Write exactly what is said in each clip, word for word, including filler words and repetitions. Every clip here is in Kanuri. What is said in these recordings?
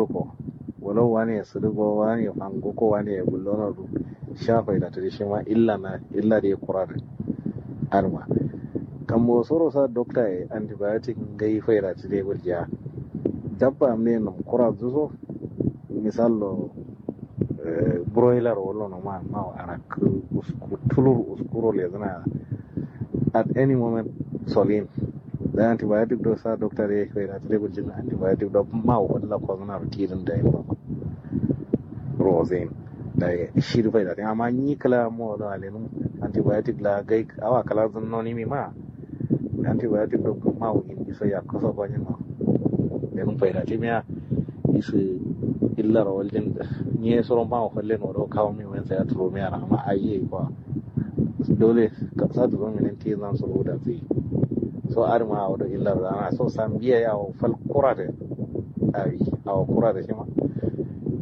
Ko walau wane ye sǝdǝ go wane ye fango ko wane ye gullono du. Sha faidatu dǝ shima illa na illa dǝ ye kura dǝ. Adǝma kambo soro sa dokta ye antibiotic ngai faidatu dǝ ye guljiya. Dabba am ne num kura dǝ so misallo broiler wallo no ma mawo arakkǝ usku tulur uskuro lezǝna. At any moment solin da antibiotic do sa dokta dǝ ye faidatu dǝ ye guljin antibiotic do mawo walla kozǝna ro tidǝn da ye. Rozain da ye shi dǝ faidatu amma nyi kǝla mawo do alenum antibiotic la gai awa kǝla zǝnno nimi ma. Antibiotic do mawo indi so yakkǝ so konyinno. Lenum faidatu miya isǝ illa ro waljin. Nyi ye suro mawo falle no do kawo mi wen sai aturo miya na amma ayi ye kwa. Dole sa duro minen tizan suro da zai. So adǝma awo do illa ro dana so sambiya ye awo fal kura dǝ. Awi awo kura dǝ shima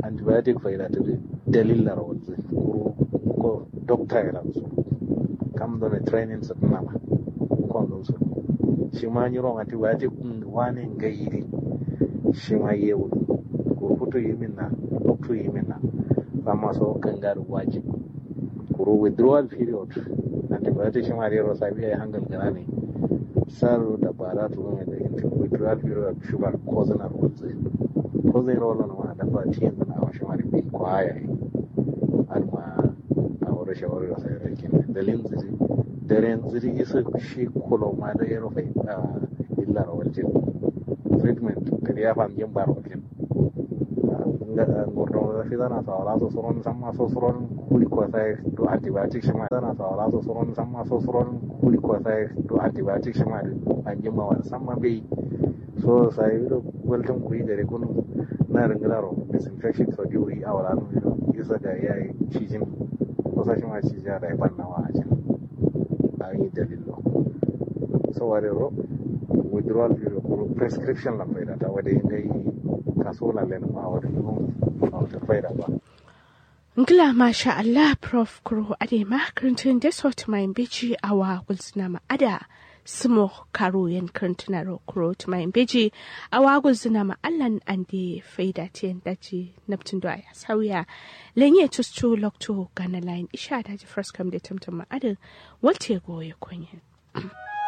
antibiotic faidatu dǝ dalil la ro walzǝ. Kuru ko dokta ye lanzǝ kam done training sǝ tǝnama. Kondon sǝ shima nyiro antibiotic wane ngai dǝ. Shima ye wul kuru futu yimin na loktu yimin na. Samma so kangaro wajib. Kuru withdrawal period antibiotic shima dero sabiya ye hangal gǝnani. Sar dabara turo me da inti withdrawal period shubar kozǝna ro walzǝ. Kozǝna ro wallo no ma dabba tiyin zǝna awo shima dǝ bi kwaya ye. Adǝma awo do shawari ro sai rakin dalin zǝ dǝ daren zǝ dǝ isǝ shi kulo ma da yero fai. Illa ro waljin treatment kadi ya fanjin ba ro waljin. Ngordo fizana so awala so suron samma so suron kuli kosai do antibiotic shima fizana so awala so suron samma so suron kuli kosai do antibiotic shima dǝ. Anjin ma wani samma bai so sai do waltin kuyi gare kunu. Na ringilaro disinfection so diwuri awala no isa ga yayi cijin. Kusa shima cijin da ya banna wa ajin. Ayi dalillo. So wari ro withdrawal period kuru prescription lan faida ta wade ngai. Kaso lan lenum a wade num a wade faida ba. Ngla masha Allah prof kuro ade ma kǝrǝntǝ nde so tǝmayin beji awa gulzǝna ma ada. Sǝmo karo yen kǝrǝntǝna ro kuro tǝmayin beji awa gulzǝna ma allan ande faida tiyen daji. Naptǝn do aya sauya lenye tustu loktu gana layin isha daji first kam de tǝmtǝm ma adǝ. Walte goye konyen.